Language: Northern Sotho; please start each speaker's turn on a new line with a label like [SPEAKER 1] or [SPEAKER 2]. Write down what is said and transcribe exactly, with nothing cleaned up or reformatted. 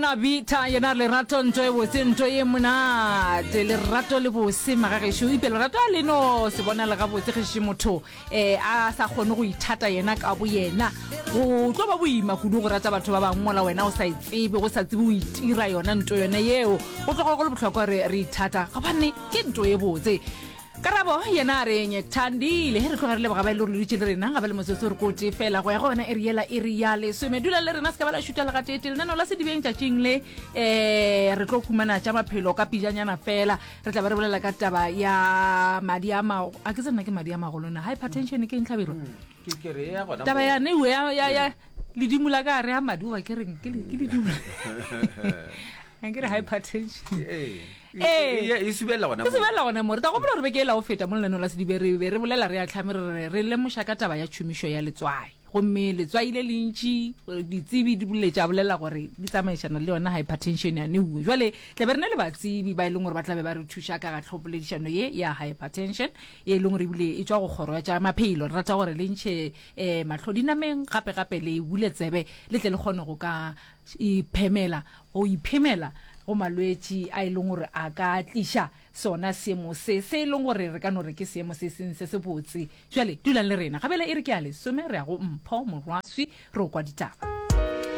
[SPEAKER 1] Nabita yena lerato nto e botse nto ye monate lerato le bose magagešo ipe lerato a le no se bona le gabotse gešo motho um a sa kgone go ithata yena ka bo yena go tlo ba boima kudu go rata batho ba bangwe mola wena o sa e tsebe go sa tsebe o itira yona nto yone yeo go tloga go le bohlokwa re re ithata gobane ke nto ye botse Karabo yena a re Nyethandile. Ge re tloga re leboga ba e le gore le dutše le rena ga ba le motsotso re kote fela go ya go yona iri yela iri ya lesome. Dula le rena se ka ba la šuta le gateetee. Lenaneo la Sedibeng tšatšing le um re tlo humana tša maphelo ka pijanyana fela. Re tla be re bolela ka taba ya madi a ma a ke tsena ke madi a magolo na hypertension ke eng Hlabirwa?
[SPEAKER 2] Ke ke re ya gona
[SPEAKER 1] Taba
[SPEAKER 2] moo.
[SPEAKER 1] ya neiwe ya ya ya ledimo la ka re ya madi goba ke reng ke le- ke ledimo. A ke re hypertension.
[SPEAKER 2] Ee.
[SPEAKER 1] Ee.
[SPEAKER 2] E subelela gona
[SPEAKER 1] E
[SPEAKER 2] moo.
[SPEAKER 1] subelela gona moo. Re tla gopola gore beke ela go feta mo lenaneo la Sedibe re be re bolela re ahlame re re re lemoša ka taba ya tšhomišo ya letswai. Gomme letswai le lentši ditsebi di bolele tša bolela gore di tsamaišana le yona hypertension ya neuwe. Jwale tla be re na le batsebi ba e leng gore ba tla be ba re thuša ka ga tlhopoledišano ye ya hypertension ye e leng gore ebile e tšwa go kgoro ya tša maphelo. Re rata gore le ntšhe um mahlo dinameng gape gape le bule tsebe le tle le kgone go ka iphemela go iphemela go malwetši a e leng gore a ka tliša sona seemo se se e leng gore re ka no re ke seemo se seng se sebotse. Bjale dulang le rena. Gabele e re ke ya lesome re ya go Mpho Morwaswi re o kwa ditaba.